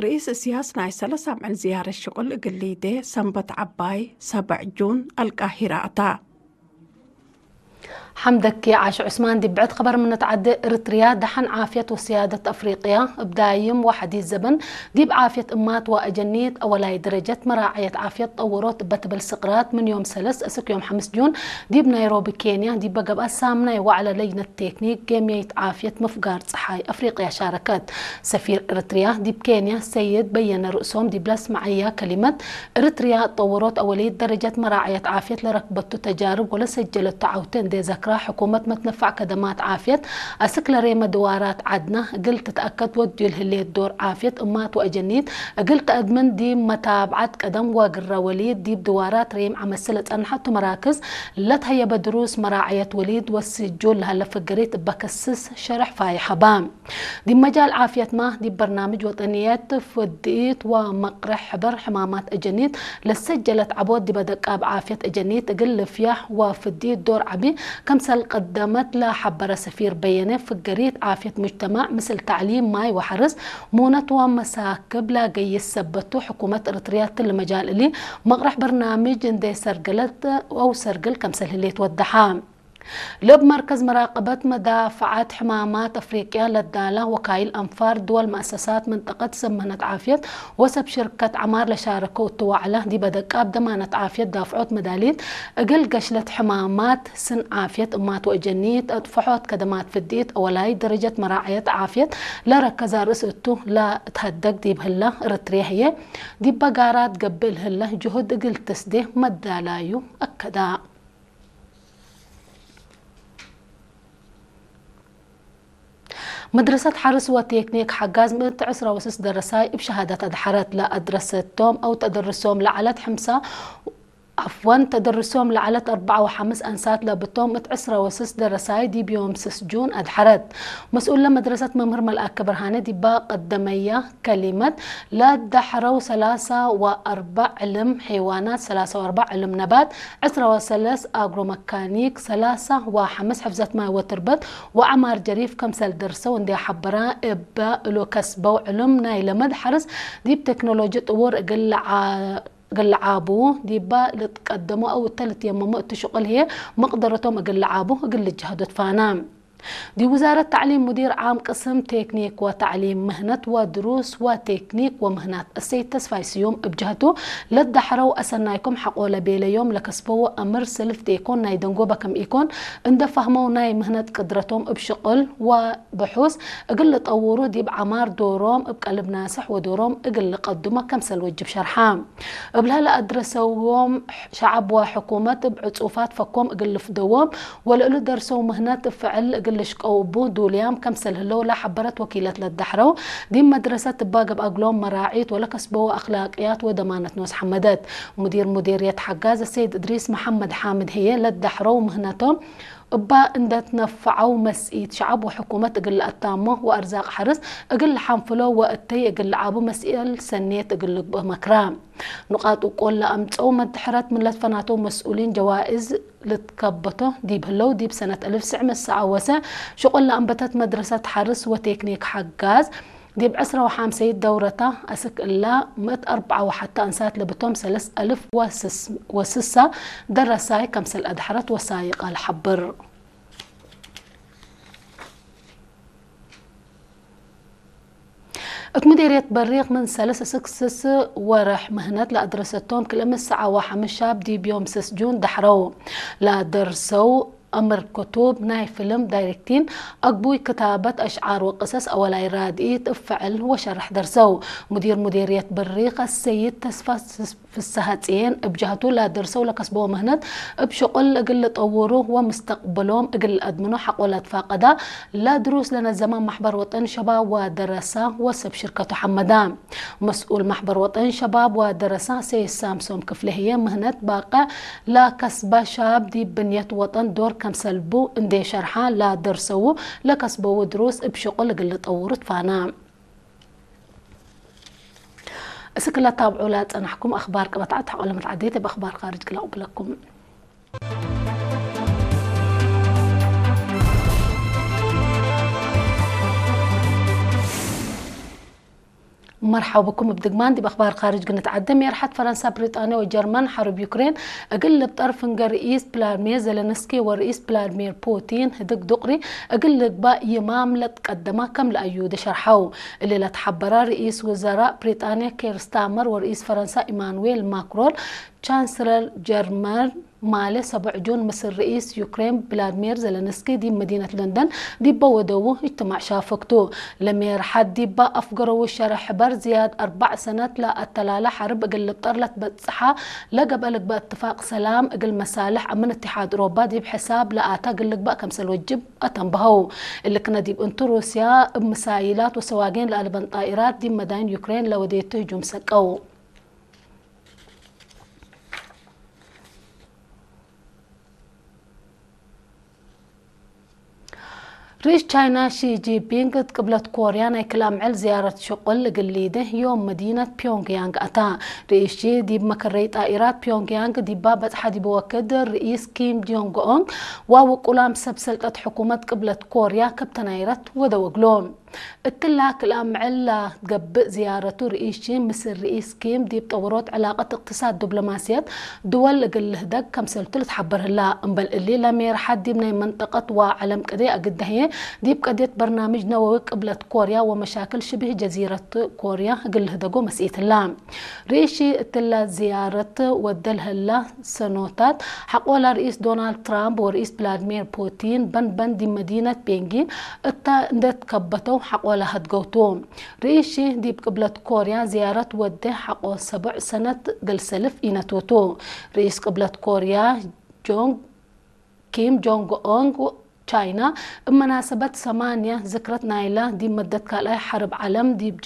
ርእስ እስያስ ናይ ሰለሳ ምዕል ዝያረ ሽቕል እግል ሊዴ ሰንበት ዓባይ ሰበዕ ጁን ኣልቃሂራ ኣታ። ሓምደኪ ዓሽ ዑስማን ዲብ ብዕድ ኸበር ምነት ዓዲ እርትርያ ደሓን ዓፍየት ወስያደት ኣፍሪቅያ እብ ዳይም ዋሕዲት ዘበን ዲብ ዓፍየት እማት ወአጀኒት አወላይ ደረጀት መራዕየት ዓፍየት ጠውሮት እበ ትብል ስቅራት ምን ዮም ሰለስ እስክ ዮም ሓምስ ጁን ዲብ ናይሮቢ ኬንያ ዲበ ገብአ ሳምናይ ዋዕለ ለጅነት ቴክኒክ ጌምየይት ዓፍየት ምፍጋር ጸሓይ ኣፍሪቅያ ሻረከት። ሰፊር እርትርያ ዲብ ኬንያ ሰይድ በየነ ርእሶም ዲብ ለስመዐያ ከሊመት፣ እርትርያ እጠወሮት አወልይት ደረጀት መራዕየት ዓፍየት ለረክበቱ ተጃርብ ወለሰጀለቱ ዓውቲ እንዴ ዘክራ፣ ሕኩመት መትነፋዕ ከደማት ዓፍየት አስክ ለሬመ ድዋራት ዓድና እግል ትትአከድ ወድዩ ለህሌት ዶር ዓፍየት እማት ወአጀኒት እግል ተአድምን ዲብ መታብዓት ቀደም ወግረ ወልይት ዲብ ድዋራት ሬም ዐመስል ለጸንሐቱ መራክዝ ለትሀየበ ድሩስ መራዕየት ወልይት ወስጁል ለሀለ ፍገሪት እበ ከስስ ሸርሕ ፋይሕ ሀባ። ዲብ መጃል ዓፍየትማ፣ ዲብ በርናምጅ ወጠንየት ፍድኢት ወመቅርሕ ሕበር ሕማማት እጀኒት ለሰጀለት ዐቦት ዲበ ደቃብ ዓፍየት እጀኒት እግል ልፍያሕ ወፍድኢት ዶር ዐቢ ከምሰል ቀደመት ለሐበረ ሰፊር በየነ፣ ፍገሪት ዓፍየት ሙጅተማዕ ምስል ተዕሊም፣ ማይ ወሐርስ፣ ሙነት ወመሳክብ ለገይስ ሰበቱ፣ ሕኩመት እርትርያ ትል መጃል እሊ መቅርሕ በርናምጅ እንዴ ሰርገለት አው ሰርግል ከምሰል ህሌት ወደሓ። ለብ መርከዝ መራቀበት መዳፈዓት ሕማማት አፍሪቅያ ለዳላ ወካይል አንፋር ድወል መአሰሳት መንጠቀት ሰብ ምህነት ዓፍየት ወሰብ ሽርከት ዐማር ለሻረከው እቱ ዋዕላ፣ ዲበ ደቃብ ደማነት ዓፍየት ዳፍዖት መዳሊት እግል ገሽለት ሕማማት ስን ዓፍየት እማት ወእጀኒት አጥፈሖት ከደማት ፍዲት አወላይ ደረጀት መራዕየት ዓፍየት ለረከዛ ርእስ እቱ ለትሀደግ ዲብ ህላ እርትርያ ህዬ ዲበ ጋራት ገብእ ለህለ ጅሁድ እግል ትስዴ መዳላዩ አከዳ። መድረሰት ሐርስ ወቴክኒክ ሐጋዝ ምእት ዕስራ ወስስ ደረሳይ እብ ሸሃደት አድሐረት። ለአድረሰቶም አው ተደርሶም ለዐለት ሐምሳ፣ ዐፍወን፣ ተደርሶም ለዐለት አርበዓ ወሐምስ አንሳት ለብቶም እት ዕስራ ወስስ ደረሳይ ዲብ ዮም ስስ ጁን አድሐረት። መስኡል ለመድረሰት መምህር መልአከ ብርሃነ ዲባ ቀደመያ ከሊመት፣ ለዳሕረው ሰላሳ ወአርበዕ ዕልም ሐይዋናት፣ ሰላሳ ወአርበዕ ዕልም ነባት፣ ዕስራ ወሰለስ አግሮ መካኒክ፣ ሰላሳ ወሐምስ ሕፍዘት ማይ ወትርበት ወዐማር ጀሪፍ ከምሰል ደርሰው እንዴ ሐበራ፣ እበ እሉ ከስበው ዕልም ናይ ለመድ ሐርስ ዲብ ቴክኖሎጂ ጥውር እግል ለዓ-፣ እግል ለዓቡ፣ ዲባ ልትቀደሙ አው እተ ልትየመሙ እት ሽቁል ህዬ መቅደረቶም እግል ለዓቡ እግል ልጀህዱ ትፋና። ዲብ ውዛረት ተዕሊም ሙዲር ዓም ቅስም ቴክኒክ ወተዕሊም ምህነት ወድሩስ ወቴክኒክ ወምህናት እሰይድ ተስፋይ ስዩም እብ ጀህቱ፣ ለዳሕረው አሰናይኩም ሐቆ ለቤለዮም ለከስበዎ አምር ስልፍ ዴኮን ናይ ደንጎበ ከም ኢኮን እንደ ፋህመው ናይ ምህነት ቅድረቶም እብ ሽቅል ወብሑስ እግል ልጠውሩ ዲብ ዐማር ዶሮም እብ ቀልብ ናስሕ ወዶሮም እግል ልቀድሞ ከምሰል ወጅብ ሸርሓ። እብላ ለአድረሰዎም ሸዐብ ወሕኩመት እብ ዕጹፋት ፈኮም እግል ልፍደዎም ወለእሉ ደርሰው ምህነት እብ ፍዕል እግል ልሽቀው እቡ ዱልያም ከምሰል ህለው ለሐበረት ወኪለት ለዳሕረው ዲብ መድረሰት እባ ገብአ እግሎም መራዒት ወለከስበዎ አክላቅያት ወደማነት ኖስ ሐመደት። ሙዲር ሙዲርየት ሐጋዝ ሰይድ እድሪስ መሐመድ ሓምድ ህዬ ለዳሕረው ምህነቶም እባ እንደ ትነፈዐው መስኢት ሸዐብ ወሕኩመት እግል ለአታሞ ወአርዛቅ ሐርስ እግል ለሐንፍሎ ወእተይ እግል ለዐቡ መስኤል ሰኔት እግል ልግብእ መክራ። ንቃጥ ውቆል ለአምጸው መድሕረት ምን ለትፈናተው መስኡሊን ጀዋእዝ ልትከበቶ ዲብ ህለው ዲብ ሰነት እልፍ ስዕ መሰዓወሰ ሽቁል ለአንበተት መድረሰት ሐርስ ወቴክኒክ ሐጋዝ ዲብ ዕስራ ወሐምሰይት ደውረታ አስክ እላ ምእት አርበዓ ወሐተ አንሳት ለብቶም ሰለስ አልፍ ወስስ-፣ ወስሳ ደረሳይ ከምሰል አድሐረት ወሳይቃ ለሐብር። እት ሙዴርየት በሪቅ ምን ሰለስ እስክ ስስ ወርሕ ምህነት ለአድረሰቶም ክልኤ ምሰዓ ወሐምስ ሻብ ዲብ ዮም ስስ ጁን ዳሕረው ለደርሰው አምር ክቱብ ናይ ፍልም ዳይሬክቲን አግቡይ ክታበት አሽዓር ወቅሰስ አወላይ ራድኢት እብ ፍዕል ወሸርሕ ደርሰው። ሙዲር ሙዴርየት በሪቅ አሰይድ ተስፋ ፍሰሃጽየን እብ ጀህቱ ለደርሰው ለከስበዎ ምህነት እብ ሽቁል እግል ልጠውሩ ወምስተቅብሎም እግል ልአድምኖ ሐቆ ለትፋቀዳ ለድሩስ ለነዘመ ማሕበር ወጠን ሸባብ ወደረሳ ወሰብ ሽርከቱ ሐመዳ። መስኡል ማሕበር ወጠን ሸባብ ወደረሳ ሰይድ ሳምሶም ክፍሌ ህዬ ምህነት ባቅዕ ለከስበ ሻብ ዲብ ብንየት ወጠን ዶር ከምሰልቡ እንዴ ሸርሓ ለደርሰው ለከስበው ድሩስ እብ ሽቁል እግል ልጠውሩ ትፋና። እስክ ለታብዑ ለጸናሕኩም አኽባር ቀበታዕት ሐቆለመት ዓዴት እብ አኽባር ካርጅ ክለቅብለኩም። መርሓባ ብኩም ብድግማን ዲብ ኣኽባር ኻርጅ ግንትዓደ። ሜርሓት ፈረንሳ፣ ብሪጣንያ ወጀርመን ሓርብ ዩክሬን እግል ልብጠር ፍንገ ርኢስ ቭላድሚር ዘለንስኪ ወርኢስ ቭላድሚር ፑቲን ህድግ ዱቕሪ እግል ልግባእ ይማም ለትቀደማ ከም ለኣዩ ደሸርሓው። እሊ ለትሓበራ ርኢስ ውዘራእ ብሪጣንያ ኬር ስታመር ወርኢስ ፈረንሳ ኢማኑዌል ማክሮን፣ ቻንስለር ጀርመን ማለ ሰቡዕ ጁን ምስል ርኢስ ዩክሬን ቭላድሚር ዘለንስኪ ዲብ መዲነት ለንደን ዲበ ወደዉ እጅትማዕ ሻፈክቱ። ለሜርሓት ዲባ ኣፍገረዉ ሸረ ሕበር ዝያድ ኣርባዕ ሰነት ለኣተላለ ሓርብ እግል ልብጠር ለትበጽሓ ለገብአ ልግባእ እትፋቅ ሰላም እግል መሳልሕ ኣምን እትሓድ ኦሮባ ዲብ ሕሳብ ለኣታ እግል ልግባእ ከምሰል ወጅብ ኣተንበሀው። እልክነ ዲብ እንቱ ሩስያ እብ ምሳይላት ወሰዋጌን ለኣልበን ጣኢራት ዲብ መዳይን ዩክሬን ለወዴቱ ህጁም ሰቀው። ርኢስ ቻይና ሺ ጂንፒንግ እት ቅብለት ኮርያ ናይ ክልኣምዕል ዝያረት ሽቁል እግል ሊደ ዮም መዲነት ፒዮንግያንግ ኣታ። ርኢስ ሺ ዲብ መከረይ ጣኢራት ፒዮንግያንግ ዲባ በጽሓ ዲብ ወክድ ርኢስ ኪም ጆንግ ኦንግ ወውቁላም ሰብ ሰልጠት ሕኩመት ቅብለት ኮርያ ክብተናይረት ወደወግሎ። እትላ ክልኣምዕል ላትገብእ ዝያረቱ ርኢስ ሺ ምስል ርኢስ ኪም ዲብ ጠወሮት ዕላቀት እቅትሳድ ዲብሎማስየት ድወል እግል ልህደግ ከምሰልቱ ልትሓበር ህላ። እምበል እሊ ለሜርሓት ዲብ ናይ መንጠቀት ወዓለም ቅዴ ኣግዳህየ ዲብ ቀድየት በርናምጅ ነወዊ ቅብለት ኮርያ ወመሻክል ሽብህ ጀዚረት ኮርያ እግል ልህደጎ መስኢት ህላ። ርኢስ ሺ እትላ ዝያረት ወደል ህላ ሰኖታት ሓቆላ ርኢስ ዶናልድ ትራምፕ ወርኢስ ቭላድሚር ፑቲን በንበን ዲብ መዲነት ቤንጊን እታ እንደትከበተው ሓቆላ ሀድገውቱ። ርኢስ ሺ ዲብ ቅብለት ኮርያ ዝያረት ወደ ሓቆ ሰቡዕ ሰነት ገልሰልፍ ኢነትውቱ። ርኢስ ቅብለት ኮርያ ጆንግ ኪም ጆንግ ኦንግ ቻይና እብ መናሰበት ሰማንያ ዝክረት ናይላ ዲብ መደት ካልኣይ ሓርብ ዓለም ዲብ